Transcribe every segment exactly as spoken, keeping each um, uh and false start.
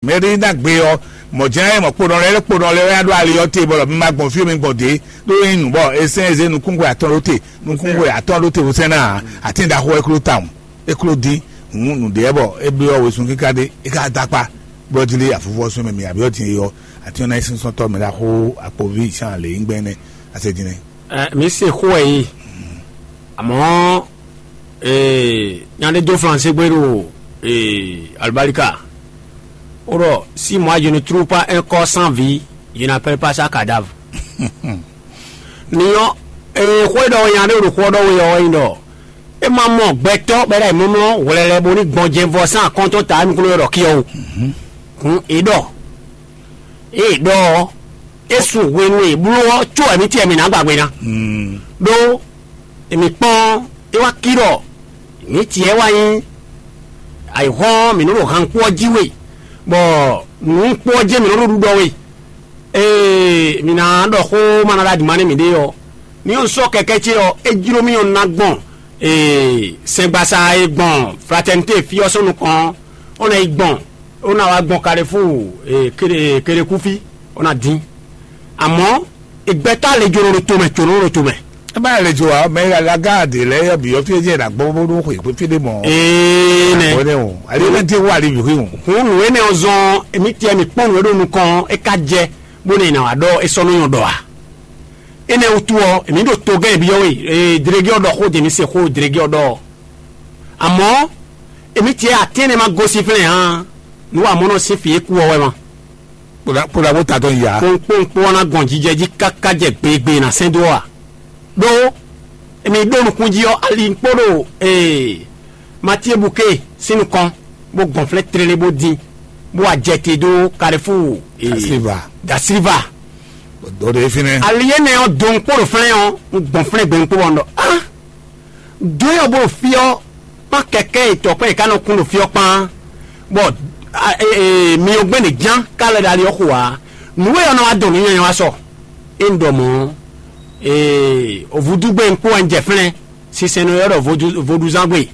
Mɛ ɖé ná gbe ɔ́, mɔ̌ jɛ́n é mɔ kponɔ lɛ́ɛ kponɔ lɛ́ɛ wɛ ɖó ali ɔ́ te bɔ mi ma gbɔn fí mi gbɔn dě, ɖó é nyí nǔ bɔ è sɛn è zé nukúnxwe atɔn ɖó te, nukúnxwe atɔn ɖó te wosɛ́n ná ǎ, atín ɖaxó wɛ kló tawun, é kló dín. Hǔn nǔɖé ɔ́ bɔ é byɔ́ wezun kíká ɖé, é ka dó akpá, bɔ jí lé afúfú ɔ́ sún mɛ mi abǐ ɔ́ din é ɔ́, atín ɔ́ ná nyí sínsɔ́ntɔ́ mɛ ɖaxó akpoví Zan lě nyí gbɛn énɛ́. Asɛ din nɛ́. Ɛ, mǐ se xó wɛ yí, amɔ̌, ee, nya ɖé dó Flansé gbé ɖo, ee, alibalika. Ó ɖɔ: si moi je ne trouve pas un corps sans vie, je n'appelle pas ça cadavre. Ni ɔ́, ee, xó e ɖɔ nya ɖé ɖo xó ɔ́ ɖɔ we ɔ́ wɛ nyí ɖɔ é ma mɔ gbɛtɔ́ bɔ é ɖo ayǐmlɔ́mlɔ́ hwlɛlɛ bó ní gbɔn jɛnvɔ sín akɔ́ntɔ́ ta nukúnnú e ɖɔ kí ɔ́ wú. Hǔn é ɖɔ, ée è ɖɔ ɔ́, é su hwenu e è bló ɔ́ có wɛ mǐ tiɛ mǐ ná gba gbe ná. Ɖó èmǐ kpɔ́n é wá cí ɖɔ mǐ tiɛ wá nyí ayǐhɔ́n mǐ nɔ ɖo hankpó ɔ́ jí we, bɔ nǔkpó ɔ́ jɛ́n mǐ nɔ ɖo ɖuɖɔ we. Ee, mǐ ná ɖɔ xó ma ná ɖo adǐma nú mǐɖée ɔ́, ní ɔ́ sɔ́ kɛkɛ́ ce ɔ́, é jló mì ɔ́ ná gbɔn ee, sɛngbasa e gbɔn Fratɛnité fí ɔ́ sín nukɔn ɔ́, ó ná yi gbɔn, ó ná wá gbɔn Kalefúu ee, Kele- Kelekúfí, ó ná dín. Amɔ̌, ìgbɛtɔ́ alejòló ɖo tomɛ, jǒnɔ ɖo tomɛ. Ɛ má lɛ jɔ wa, mɛ la gá de lɛ yɛ bi ɔfi jɛ na gbɔ bó ɖó xwe fí ɖé mɔ. Ee nɛ. Bɔnɛ o, ale ne te wa li bi o. Hun nǔ énɛ́ ɔ́ zɔn, èmi tiɛ mi kpɔ́n nǔ e ɖo nukɔn ɔ́, é ka jɛ, bó ne è nǎ wá ɖɔ é sɔ́ nú nyɔ ɖɔ a? Énɛ́ wútu ɔ́, èmi ɖo togɛ́n byɔ́ we, ee, dlégé ɔ́ ɖɔ xó, dě mi se xó dlégé ɔ́ ɖɔ ɔ́. Amɔ̌, èmi tiɛ atín énɛ́ ma gosín flɛ́n ǎ, nǔ wa mɔ̌ nɔ sín fǐ e kú ɔ́ wɛ ma. Kpódà kpódà bó ta tɔn ya. Kpɔnkpɔnkpɔn ɔ́ ná gbɔn jijɛ jí káká jɛ gbegbe ná sɛn dó a? Ɖó èmi ɖó nukúnjí ɔ́, ali kpó ɖo ee, Matíe Buké sín nukɔn, bó gbɔn flɛ́n tlélé bó dín, bó wá jɛ te dó Kalifúu ee, Da Silva. Da Silva. Dó ɖe fínɛ́. Ali énɛ́ ɔ́, do un kpó ɖo flɛ́n ɔ́, un gbɔn flɛ́n gbe un kpó bɔ un ɖɔ á, do ɔ́ bó ɖo fí ɔ́, kpán kɛkɛ́ e tɔ̌kpɛn e ká nɔ kún ɖo fí ɔ́ kpán, bɔ mi ɔ́ gbɛ́ ɖě ján ká lɛ́ ɖo ali ɔ́ xo ǎ. Nǔ e ɔ́ ná wá dɔn nǔ nyanya wá sɔ. É un ɖɔ mɔ̌, ee, vodúgbe un kpó wɛ un jɛ flɛ́n, sinsɛn nɔ ylɔ́ ɖɔ vodúzángbe,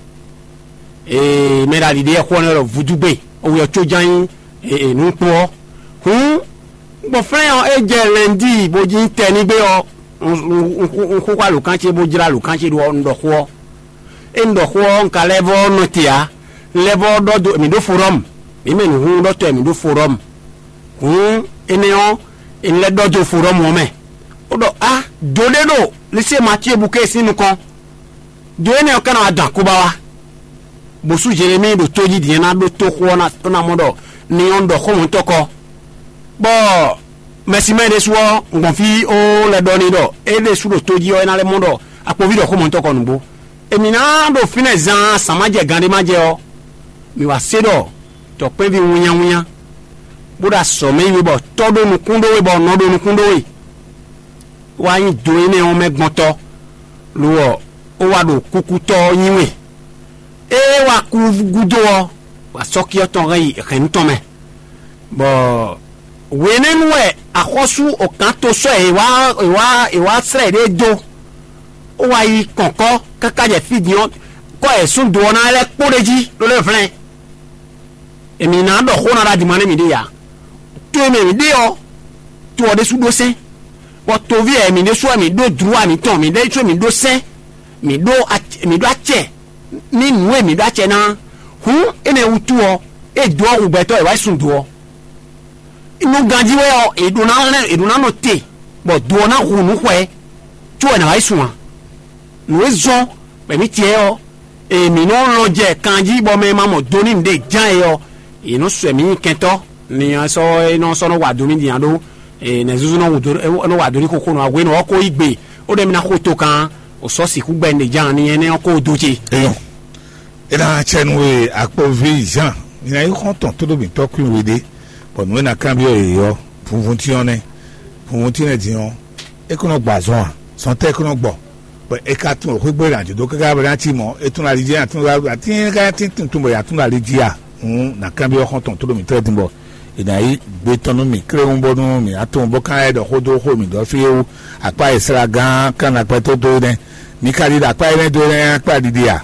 ee, mɛ ɖo ali ɖé xó ɔ́ nɔ ylɔ́ ɖɔ vodúgbe, ɔ́ wɛ ɔ́ có ján nyí ee, nǔ kpó ɔ́. Hǔn, gbɔn flɛ́n ɔ́, é jɛ lɛ̌ndíi bó jí tɛ ní gbé ɔ́, un xo alǒkan ce bó jlá alǒkan ce ɖó ɔ́, un ɖɔ xó ɔ́. É un ɖɔ xó ɔ́, un ka lɛ́ vɔ́ nɔ te ǎ. Un lɛ́ vɔ́ ɖɔ dó mǐ ɖó forɔ́mu. Mǐ mɛ nǔhúnhúnɖɔtɔ́ e mǐ ɖó forɔ́mu. Hǔn énɛ́ ɔ́, è lɛ́ ɖɔ dó forɔ́mu ɔ́ mɛ, bó ɖɔ á, do ɖé ɖo Lisée Matíe Buké sín nukɔn. Do énɛ́ ɔ́ ka ná wá dɔn akóbá wá, bó sú Jelemíi ɖo tójí din ɔ́ ná ɖótó xó ɔ́ ná mɔ ɖɔ ni ɔ́ ɖɔ xó mɔ̌tɔn kɔ. Bɔ mɛsimɛ ɖésú ɔ́, un gbɔn fí ó lɛ́ ɖɔ n'i ɖɔ é ɖésú ɖo tójí ɔ́, é ná lɛ́ mɔ ɖɔ akpoví ɖɔ xó mɔ̌tɔn kɔ nǔgbó. Èmǐ ná ɖo fínɛ́ zaan zǎn ma jɛ gan ɖé ma jɛ ɔ́, mǐ wá se ɖɔ tɔ̌kpɛ́nví wínnyáwínnyá, bó ɖo azɔ̌ mɛ yi we bɔ tɔ́ ɖó nukún ɖó we bɔ nɔ ɖó nukún ɖó we. Wá nyí do énɛ́ ɔ́ mɛ gbɔn tɔ́, lo ɔ́, ó wá ɖo kúkútɔ́ ɔ́ nyi we. Ée wá kú gúdo ɔ́, wá sɔ́ ɔ́ tɔn hɛn yi hɛ̌nnu tɔn mɛ, bɔ hwenɛ́nu wɛ axɔ́sú okǎnto sɔ́ è wá è wá è wá slɛ́ yěɖée dó, ó wá yi kɔ̌nkɔ́ káká jɛ fí din ɔ́, kɔ́ è sún do ɔ́ ná lɛ́ kpó ɖ'é jí ɖó lɛ́ vlɛ́n. Èmi ná ɖɔ xó ná ɖo adǐma nú mǐɖée ǎ. To e mɛ mǐ ɖe ɔ́, to ɔ́ ɖésú ɖó sɛ́n, bɔ toví wɛ mǐ ɖésú wɛ mǐ ɖó dlǔwa mǐtɔn, mǐ ɖésú mǐ ɖó sɛ́n, mǐ ɖó mǐ ɖó acɛ ní nǔ e mǐ ɖó acɛ ná. Hǔn énɛ́ wútu ɔ́, é dó ɔ́ hu gbɛtɔ́ è wá yi sun do ɔ́. Nú ganjí wɛ ɔ́, è ɖó ná lɛ́ è ɖó ná nɔ te, bɔ do ɔ́ ná hu nǔ xwɛ, có wɛ nǎ wá yi sun ǎ. Nǔ e zɔ́n bɔ mǐ tiɛ ɔ́, e mǐ nɔ lɔn jɛ kanjí bɔ mɛ e ma mɔ do n'i ɖe ján e ɔ́, è nɔ sɔ́ mǐ nyi kɛntɔ́. Ni ɔ́ sɔ́ é nɔ sɔ́ nɔ wa do mì din ǎ ɖó nɛ̌zúzú nɔ wa do ní xóxó nɔ hwenu ɔ́ kó yí gbe, ó ɖɔ mì ná xo to kan, ò sɔ́ sixú gbɛ ɖe ján ni énɛ́ ɔ́ kó dó ce. Eyɔn, é ná cɛ nú we akpɔví Jean, mi ná yi xɔ́n tɔn tóɖó mǐtɔn kwín we ɖé, bɔ nǔ e ná kanbyɔ́ yě ɔ́, vunvun cyɔ́n nɛ́. Vunvun cyɔ́n nɛ́ din ɔ́, é kó nɔ gbɔ azɔn a? Zɔn tɛ́ é kó nɔ gbɔ? Bɔ è ka tunwun xwé gbé ɖo ajǒdó káká bɔ é ná cí mɔ̌, é tún ali jí, é ná tún ali jí, atín ká ná tín tunwun bɔ è nǎ tún ali jí a? Hǔn nǎ kanbyɔ́ xɔ́ntɔn tóɖó mǐtɔn lɛ́ɛ din bɔ è nǎ yí gbe tɔn nú mì kléwún bónú mǐ ná tunwun bó ka lɛ́ ɖɔ xó dó xó mǐ ɖɔ fí é wú. Akpá e slagán kan ná kpɛ́ tó dó é nɛ́. Mi ka ɖi ɖo akpá énɛ́ dó é nɛ́ akpá ɖiɖi a?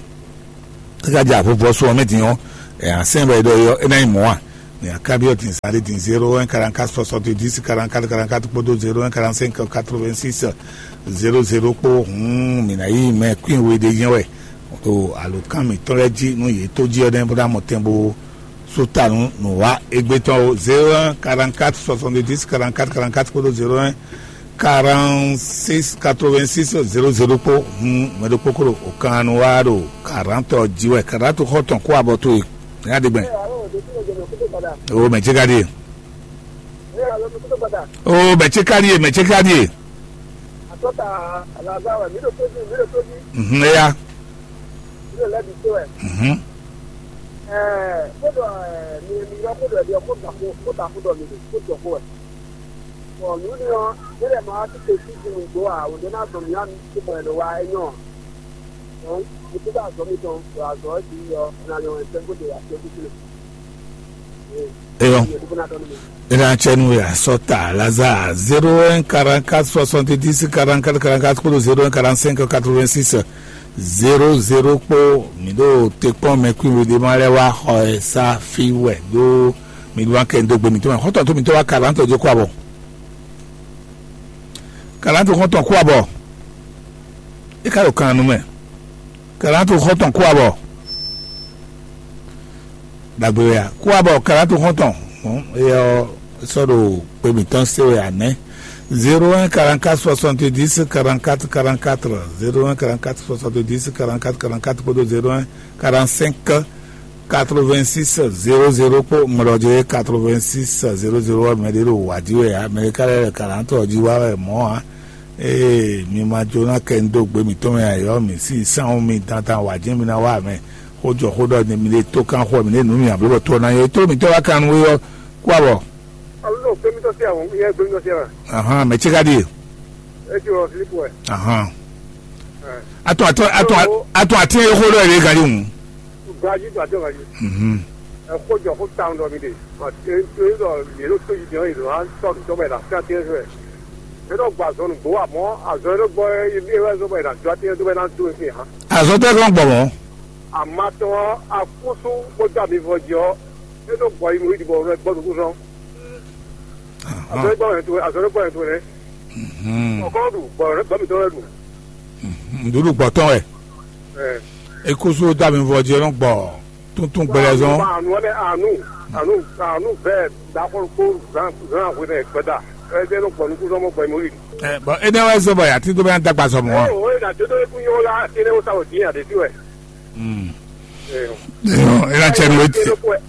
É ka jɛ avuvɔsu ɔ́ mɛ din ɔ́, è nǎ sɛn bɔ è ɖɔ é ɔ́, é ná nyí mɔ̌ a? Ní akábíyɔ din zǎn ɖé din zéro un quarante-quatre soixante-dix quarante-quatre quarante-quatre kpódó zéro un quarante-cinq quatre-vingt-six zéro zéro kpó. Hǔn mǐ ná yí mɛ kwín we ɖé nyɛ wɛ. Ɖo alǒkan mǐtɔn lɛ́ɛ jí nú yě tó jí ɔ́ nɛ́ bó ná mɔ tɛn bó sú ta nú nǔwá égbé tɔn ó. Zéro un quarante-quatre soixante-dix quarante-quatre quarante-quatre kpódó zéro un quarante-six quatre-vingt-six zéro zéro kpó. Hǔn mɛ ɖokpó kó ɖo òkan nu wá ɖo karantɔ jí wɛ. Karantɔ xɔ tɔn kó abɔ towe. Nya ɖe gbɛn. O mɛ ce ka ɖie. O mɛ ce ka ɖie, mɛ ce ka ɖie. Mhm, eya. Mhm. Bɔn nǔ ní ɔ́, é lɛ́ ma wá títí sí sin nǔgbó ǎ, wǒ ɖé ná zɔn mǐ ǎ, mi tún mɔ ɛ ɖo wa é nyɔ́ ǎ. Dɔ̌n, mi tún ɖo azɔ̌ mitɔn ɖo azɔ̌ ɔ́ jí ɔ́, un ná nyɔ́ wɛ sɛ́n bó ɖe asyɛ́ kúkú nɛ. Eyɔ. Nyɛ ɖokpó ná tɔ́ nú mi. Ena cɛ nu ya sɔta Lazare zéro un quarante-quatre soixante-dix quarante-quatre quarante-quatre kpódó zéro un quarante-cinq quatre-vingt-six zéro zéro kpó. Mi ɖo te kpɔn mɛ kwín we ɖé ma lɛ́ wá xɔ ɛ sá fí wɛ ɖó mi ɖó wá kɛ dó gbe mitɔn mɛ. Xɔtɔn tó mitɔn wá karantɔ jó kó abɔ. Karantɔ xɔtɔn kó abɔ. E ka ɖo kan nu mɛ. Karantɔ xɔtɔn kó abɔ. Dagbe wɛ ya kó abɔ karantɔ xɔtɔn. Hɔn eyɔ sɔ ɖo kpe mitɔn se wɛ anɛ. Zéro un quarante-quatre soixante-dix quarante-quatre quarante-quatre, zéro un quarante-quatre soixante-dix quarante-quatre quarante-quatre kpódó zéro un quarante-cinq quatre-vingt-six zéro zéro kpó mlɔdze quatre-vingt-six zéro zéro wɛ mɛ ɖé ɖo wǎ jí wɛ ǎ. Mɛ ɖé ka lɛ́ lɛ karantɔ jí wá wɛ mɔ̌ ǎ. Ee, mi ma jó ná kɛ nu dó gbe mǐtɔn mɛ ǎ, yɔ mǐ sí sánwó mi dandan wǎ jɛ́n mi ná wá mɛ. Xó jɔ xó ɖɔ mi ɖe tó kán xó mi ɖe nǔ mi ǎ bló bɔ tó ná nyɔ tó mǐtɔn wá kan nú we ɔ́ kú abɔ. Alo, gbɛmítɔ́ sí àwọn yẹn gbɛmítɔ́ sí àwọn. Ahan, mɛ ce ka ɖie. Etí wɔ Filipu wɛ. Ahan. Atɔ atɔ atɔ atɔ ati yɛ xó ɖɔ yɛ gari ŋu. Gaji to atɔ gaji. Mhm. Ɛ xó jɔ xó ta ŋdɔ mi de. Ɛ ɛ lɔ yɛ ló tó yi jɔ yɛ lɔ an tɔ tɔ bɛ la fia tɛ fɛ. Ɛ lɔ gbɔ azɔ nu gbɔ amɔ azɔ yɛ ló gbɔ yɛ yɛ wɛ zɔ bɛ la jɔ ati yɛ tó bɛ na do fi hã. Azɔ tɛ kàn gbɔ mɔ. Amatɔ akúsú kó dó àmì vɔ jí ɔ. Ɛ ló gbɔ yi mu yi dibɔ rɛ gbɔ dukú sɔn. Azɔ gbɔ yɛ tó azɔ gbɔ yɛ tó rɛ. Ɔkɔ ɖu gbɔ rɛ gbɔ mi tɔ rɛ ɖu. Ŋɖuɖu gbɔtɔn wɛ. Ɛ. Ekusu dami vɔ jɛ nɔ gbɔ tuntun gbɛlɛ zɔn. Anu ɔlɛ anu anu anu vɛ dakɔn ko zan zan ahwe nɛ gbɛda. Ɛ jɛ nɔ gbɔ nuku zɔn mɔ gbɛ mɔ yi. Ɛ bɔn e nɛ wɛ zɔ bɔ yati do bɛ dagba zɔ mɔ wa. Ɛ o e na dodo eku nyɔ la ati ne o sa o di ade ti wɛ. Mm. Ɛ o. Ɛ na cɛ nu eti.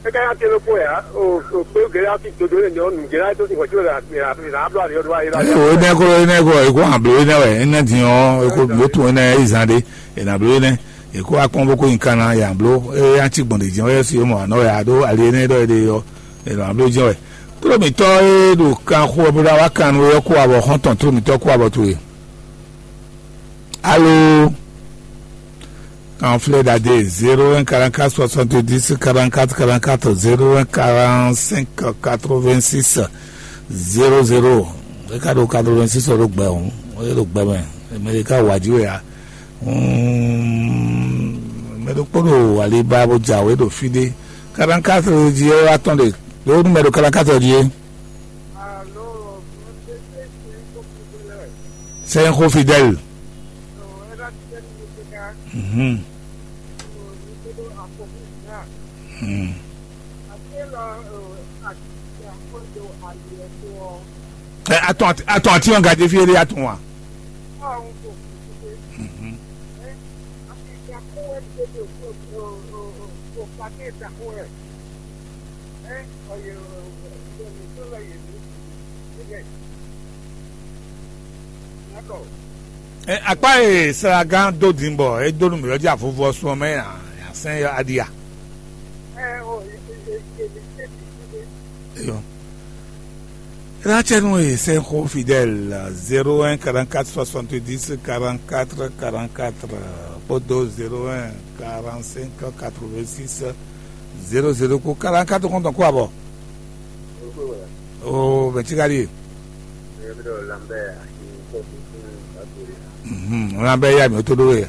E ka ya te lo ko ya o o pe gɛlɛ ati dodo ne nyɔ nu gɛlɛ to si wɔ ti wɛ la la la blo ali o do ayi la. Ɛ o e nɛ ko e nɛ ko e ko hàn blo e nɛ wɛ e nɛ din ɔ e ko blo tun e nɛ e zan de e na blo e nɛ. Èkó akpɔ́n bó kó nyi kan ná yǎ bló. Eye atsi gbɔn ɖě jɛ́n wɛ si mɔ anɔ wɛ aɖó ali énɛ́ ɖɔ éɖée ɔ́, è nɔ bló jɛ́n wɛ. Tlómítɔ́ e ɖo kan xo wɛ bó ɖo awá kan nú é ɔ́ kó awɔ xɔ́ntɔn tlómítɔ́ kó awɔ towe. Alo. Kan flɛ́ ɖadé zéro un quarante-quatre soixante-dix quarante-quatre quarante-quatre zéro un quarante-cinq quatre-vingt-six zéro zéro. É ka ɖo quatre-vingt-six ɔ́ ɖo gbɛ hǔn, é ɖo gbɛ mɛ. Mɛ ɖé ka wǎ jí wɛ ǎ. Mɛ ɖokpó ɖo aliba bó jɛ awě ɖo fí ɖé. Kalankátɔ jí é wá tɔn ɖe ɖó nú mɛ ɖo kalankátɔ jí é. Sɛnxó Fidèle. Mhm. Mhm. Ɛ, atɔn ati- atɔn ati ɔn gadé fie ɖé atɔn wa. Mhm. Ɛ, akpa e sragán dó din bɔ é dó nú mǐ ɔ́ jí avuvɔ sun ɔ́ mɛ a, a sɛn yɔ aɖia. Eyɔ. Rachel Noé Senko Fidèle zéro un quarante-quatre soixante-dix quarante-quatre quarante-quatre kpódó zéro un quarante-cinq quatre-vingt-six zéro zéro kó quarante-quatre kɔntɔn kó abɔ. O bɛ tí ka ɖi. Lamɛn ya mi tó ɖó yɛ.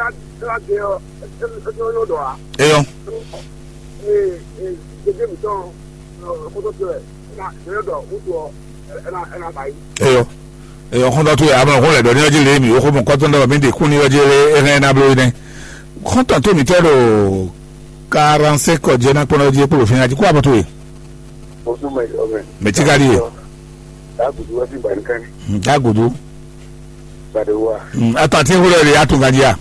ná ná dé ɔ́, é é é nyɔ́ ɖɔ ǎ. Eyɔ. Ee ee dédé mǐtɔn xótó tɔn ɛ ná é nyɔ́ ɖɔ wútu ɔ́, ɛ ná ɛ ná ba yi. Eyɔ. Eyɔ xɔntɔn to yà mɛ xó lɛ ɖɔ ní ɔjí lé mi ó xó mɔ kɔtɔn ɖɔ mi ɖe kún ní ɔjí lé é hɛn ná bló yi nɛ. Xɔntɔn tó mi tɛ ɖo quarante-cinq kɔ jɛ ná kpɔn ɔjí kpó fín ati kó abɔ tó ye. Ojú mẹ ọmọ. Mẹ tí ká di ye. Dàgùdù wá sí ìbànúkẹ́ ní. Dàgùdù. Gbàdúrà. Ata tí ń wúlò rè atúngadí à.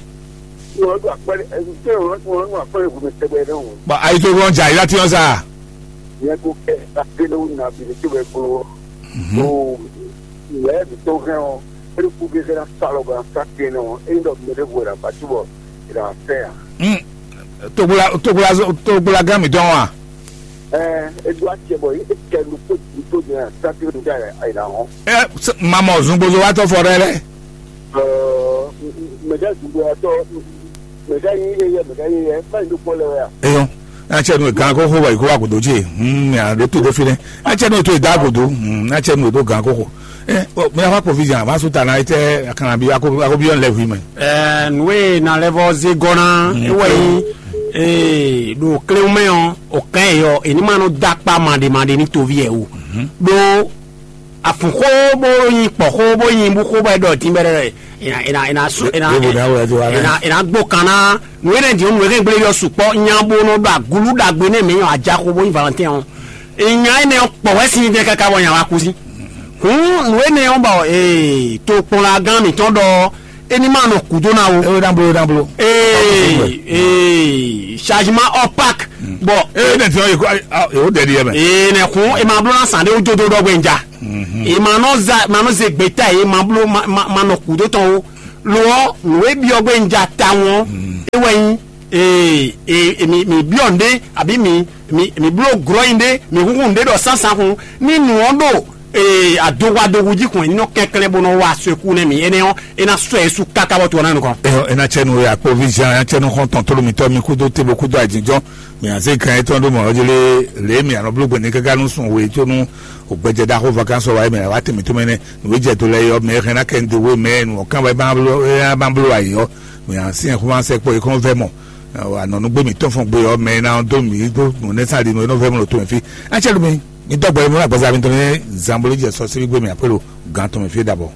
Wọ́n tún àpẹẹrẹ ẹni tí wọ́n tún wọ́n tún àpẹẹrẹ ìwé mi tẹ́gbẹ́ náà wọ́n. Bɔn ayi tó wọn jà yìí láti wọn sá. Ìyẹn kò kẹ́ ẹ ká délé wò ní abìlẹ̀ tí wọ́n gbó. Tó ìyá ẹ̀ tó hẹ́ wọn. Eré kú bí sẹ́dá sálọ gan sá tiẹ̀ náà wọn. Eyín dọ̀ mẹ́lẹ́ wò rà bàtú bọ̀ ìrà fẹ́ yà. Togbla togbla togbla gán mi dɔn wa. Ɛɛ, edu atsɛ bɔ e kɛ nu kpó nu tó jɛ sátiro nu da ayila hɔn. Ɛ mamɔ zungbozo wa tɔ fɔ ɖɛ lɛ. Ɛɛ, mɛgɛ zungbo ya tɔ, mɛgɛ yi ye yɛ mɛgɛ yi yɛ, má yi nu kpɔ lɛ wɛ ya. Eyɔn, atsɛ nu gan kó xó wa yi kó wa godo dzi. Hmm, ya ɖo to ɖe fi nɛ. Atsɛ nu to da godo. Hmm, atsɛ nu to gan kó xó. Ɛ, ɔ, mi afa kpovi jan, va su ta na etɛ akana bi ako ako bi yɔn lɛ hui mɛ. Ɛɛ, nǔ e na lɛ́ vɔ zé gɔ́ ná é wɛ nyí ee ɖo kléwún mɛ ɔ́, o kɛn yɔ è ní ma nɔ dó akpá maɖe maɖe ní toví ɛ o. Ɖó afun xó bó nyi kpɔ xó bó nyi bú xó bɔ é ɖɔ dín bɛ́ ɖɔ è nà è nà è nà sú è nà Yóò bò ní awɔ ɛ tó wa è nà è nà gbó kan ná nǔ énɛ́ dǐ nǔ énɛ́ gblé yɔ sukpɔ́ nya bó nɔ ɖo agulu ɖagbe nɛ mɛ nyɔ ajaxo bó nyí Valentin ɔ́. Nya énɛ́ ɔ́ kpɔ wɛ sin jɛ káká bɔ nya wá kú sí. Hǔn nǔ énɛ́ ɔ́ bɔ ee tokpɔnlagán mǐtɔn ɖɔ é ní ma nɔ kú dó ná o. Ewe ná blo ewe ná blo. Ee ee changement hors pack. Bɔ Ee ne tiɲɔ yi ko ayi awo ewo dɛ di yɛ mɛ. Ee nɛ kun e ma bló na san ɖe wo jodo ɖɔ gbɛnja. E ma nɔ za ma nɔ ze gbeta ye ma bló ma ma ma nɔ kudo tɔn wo. Lo ɔ́, nǔ e byɔ́ gbé un ja tawun ɔ́, é wɛ nyí ee, ee, mi mi byɔ́ nǔɖé, abǐ mi mi mi bló glɔ́ nyi ɖé, mi húnhún nǔɖé ɖɔ sánsan hun. Ní nǔ ɔ́ ɖo ee adohwadohu jí kɔn, ní nɔ kɛnklɛ́n bó nɔ wa so e kú nɛ́ mi énɛ́ ɔ́, é ná sɔ́ ɛ su káká bɔ to ɔ́ ná nukɔn. Ɛ ɛ ná cɛ nu ya kpo vizian ya cɛ nu xɔn tɔn tolo mitɔ mi kudo te bo kudo ajinjɔn. Mi anze kan etɔn ɖo mɔ ɔjele le mi anɔ blo gbɛni kaka nu sun we to nu o gbɛjɛ da xo vacances wa mi wa te mi to mɛnɛ. Nu we jɛ to lɛ yɔ mɛ hɛn na kɛ nde we mɛ nu kan wa ban blo ya ban blo ayi yɔ. Mi anse xo ma se kpo ikɔn vɛ mɔ. Anɔ nu gbe mi tɔn fɔn gbe yɔ mɛ na do mi do nu ne sa di nu no vɛ mɔ to mi fi. An cɛ lu mi mi dɔgbɛ mo na gbɛza mi to ne zambolo jɛ sɔ se gbe mi apelo gan to mi fi dabɔ.